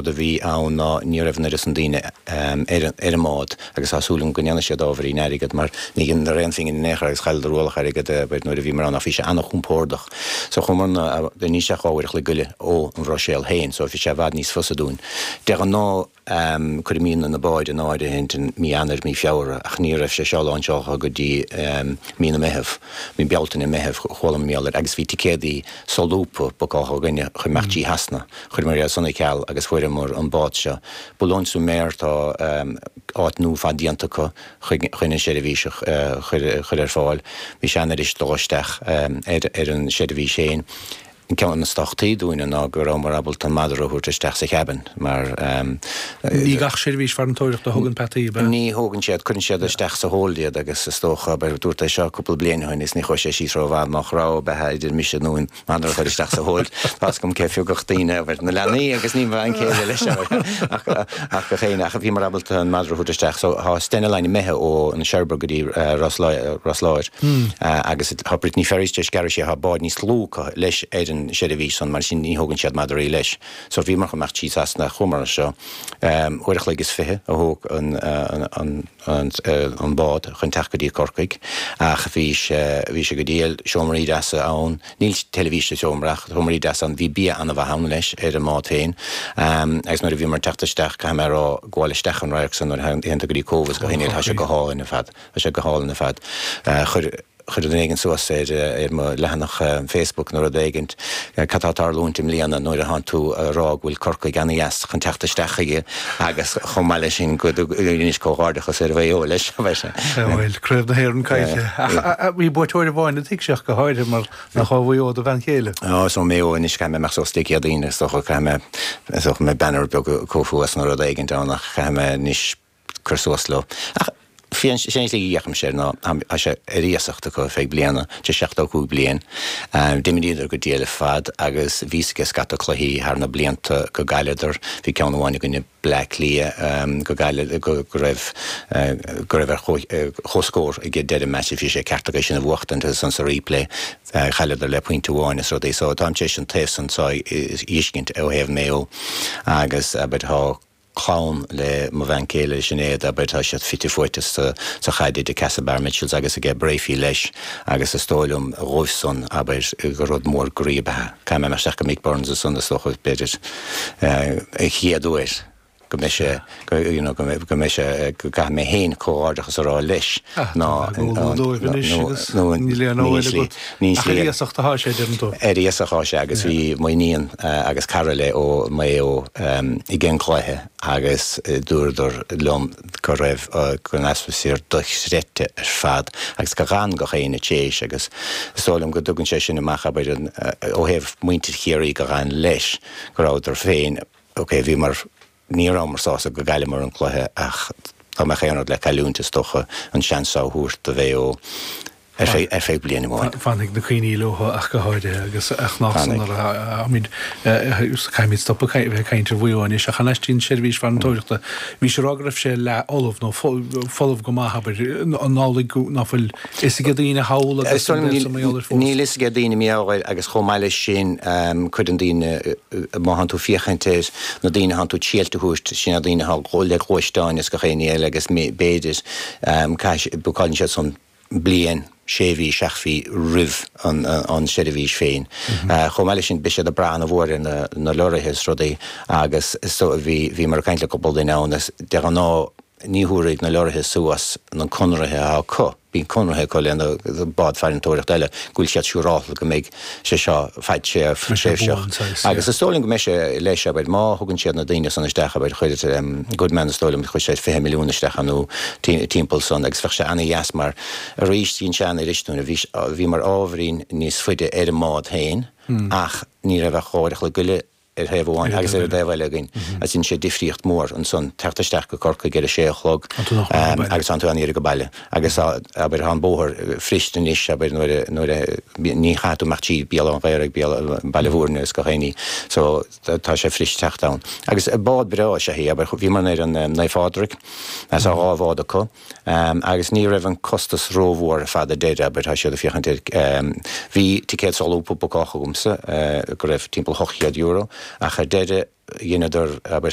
Rud a bhí ann ná ní raibh an oiread san daoine ar an mbád agus tá súil agam go ndéanfaidh siad ábhairín airgead mar ní dheineadar aon phingin in aon chor agus chailleadar ualach airgid abair nuair a bhíomar ann ach bhí sé an-chompordach. So chuamarna isteach uair a chloig go leith ó an Bhruiséil féin so bhí sé i bhfad níos fusa dúinn. De ghnáth cuirimidne na báid in áirithint in mí Eanáir, mí Feabhra ach ní raibh sé seo láinseáltha go dtí mí na Meitheamh, mí Bealtaine, Meitheamh chuala mé mar gheall air agus bhí ticéadaí solúbtha bookáilte againne chun imeacht trí Shasana. Chuireamar iad san ar ceal agus fuaireamar an bád seo. Boulogne-sur-Mer tá áit nua fad déanta acu chun an seirbhís a chur ar fáil. Bhí sé an-fhuirist dul isteach ar an seirbhís féin. An ceann is tábhachtaí dúinne ná go rabhamar ábalta an madra a thabhairt isteach sa chabin mar. Ní gach seirbhís farantóireachta a thugann peataí, ab ea? Ní thógann siad, cuireann siad isteach sa hold iad agus is dócha, abair, dúrt é seo cúpla bliain ó shin is ní chuaigh sé síos rómhaith, má rogha beatha idir mise nó an madra a chur isteach sa hold. Tá's agam cé phiocfadh daoine, abair, na leanaí agus ní mo bhean chéile leis, abair, ach, ach gach éinne. Ach bhíomar ábalta an madra a thabhairt isteach. So tá Stena Line imithe ó an Cherbourg go dtí Ros Ros Láir agus tá Brittany Ferries tar éis gearradh siar, tá báid níos lú acu leis ar an seirbhís san, mar sin ní thógann siad madraí leis. So bhíomar chun imeacht trí Sasana, chuamar anseo. Uair a chloig is fiche a thóg an, an, an, an bád chun teacht go dtí Corcaigh ach bhí sé, bhí sé go diail, seomraí deasa ann, níl teilifís sa seomra ach seomraí deasa ann, bhí bia an-mhaith ann leis ar an mbád féin agus nuair a bhíomar ag teacht isteach, caithfidh mé a rá, gabháil isteach an radharc san nuair a théann tú go dtí Cóbh is go hInis, tá sé go hálainn ar fad, tá sé go hálainn ar fad. Chuir. Chuir duine éigin suas ar mo leathanach Facebook nó rud éigint cad tá ag tarlúint i mbliana nuair a thánn tú a rá go bhfuil Corcaigh ana-dheas chun teacht isteach chuige agus chomh maith leis sin go dtugaimís comhghairdeachas ar Mhaigh Eo leis. Bhuel, Craobh na hÉireann caillte. Ach bhí buaiteoir amháin a thuig sé ach go háirithe mar nach ó Mhaigh Eo do bhean chéile. Ó, is ó Mhaigh Eo anois caithfidh mé imeacht suas Dé Céadaoin is dócha caithfidh mé, is dócha mé banner beag a chur thuas nó rud éigint ann ach caithfidh mé anois cur suas leo. Ach sé an tslí a fhéachaimse air ná tá sé ar iasacht acu ar feadh bliana, tá 75 bliain. D'imríodar go diail ar fad agus bhí 's aige scata cluichí thar na blianta go gcailleadar. Bhí ceann amháin i gcoinne Bleá Cliath go gcailleadar, go raibh, go raibh ar chomhscór ag deireadh an match bhí sé ceart acu é sin a bhuachtaint agus ansan sa replay chailleadar le pointe amháin is rudaí. So táim tar éis an taobh san seo a fheiscint ó thaobh Mayo agus abair tá clann le mo bhean céile, Sinéad, abair, tá siad fite fuaite sa chaid idir Castlebar Mitchels agus aige Breaffy leis agus is dóigh liom dhóibh san, abair, gur rud mór groí ab ea. Caithfidh mé imeacht isteach go Mick Burns ansan is dócha, b'fhéidir, an chéad uair go mbeidh sé, you know, go mbeidh sé, go gcaithfidh mé féin comhghairdeachas a rá leis ná, nó, níl aon slí, níl slí. Ach ar iasacht atá sé, deireann tú? Ar iasacht atá sé agus bhí m'iníon agus cara léi ó Maigh Eo ag an gcluiche agus dúradar liom go raibh go an atmaisféar dochreidte ar fad agus go dh'fhan gach éinne téis agus is dóigh liom go dtugann sé sin amach abair ó thaobh muintir Chiarraí go dh'fhan leis go rabhadar féin ok bhíomar ní rabhamar sásta go gcailleamar an cluiche ach dá mbeadh aon rud le cailliúint is dócha an seans seo a thabhairt do Mhaigh Eo ar feadh bliain amháin. Fanfaidh na cuimhní leo ach go háirithe agus ach nach san ar a caithfimid stop a bheith ag caint ar Mhaigh Eo anois ach thar n-ais dtí'n seirbhís farantóireachta. Bhí sé ag rá go raibh sé leath fholamh nó folamh go maith abair an amhlaidh ná fuil fhios ag daoine thall agus an bhfuil sa mbaol ar fós? Níl fhios ag daoine mar gheall air agus chomh maith leis sin cuireann daoine, má thánn tú féachaint ar na daoine thánn tú triailt a thabhairt, sin na daoine atá le gluaisteáin is gach aon ní eile agus b'fhéidir bookáileann siad san bliain, sé mhí, seacht mhí roimh an seirbhís féin. Chomh maith leis sin beidh siad ag brath ana-mhór ar na lorraithe is rudaí agus so bhí, bhíomar ag caint le cúpla duine ann is de ghnáth Ní thabharfaidh na lorraithe suas na conraithe atá acu, bíonn conraithe acu le na báid farantóireachta eile, go bhfuil siad siúrálta go mbeidh sé seo fadtréimhseach. Agus is dóigh liom go mbeidh sé leis, abair, má thugann siad na daoine san isteach, abair, chuir Goodman is dóigh liom, chuir sé 20 milliún isteach ann nó timpeall san agus bheadh sé ana-dheas mar arís dhein sé an-fhuirist dúinn, bhíomar ábhairín níos faide ar an mbád féin ach ní raibh ach uair a chloig go leith ar thaobh amháin agus ar an dtaobh eile againn agus dhein sé difríocht mhór ansan teacht isteach go Corcaigh ar a sé a chlog agus tánn tú an-ghairid go baile agus abair tá an bóthar fuirist anois abair nuair a nuair a ní chaithfidh tú imeacht trí Béal Átha an Ghaorthaidh Béal Baile Bhúirne is gach aon ní so tá sé fuirist teacht ann. Agus bád breá is ea í abair bhíomar ar an Naomh Phádraig agus tá dhá bhád acu. Agus ní raibh an costas rómhór ar fad ar deireadh, abair, tá siad ag féachaint ar, bhí ticéad solúbtha bookáilte agamsa go raibh timpeall €800, ach ar deireadh. dheineadar, abair.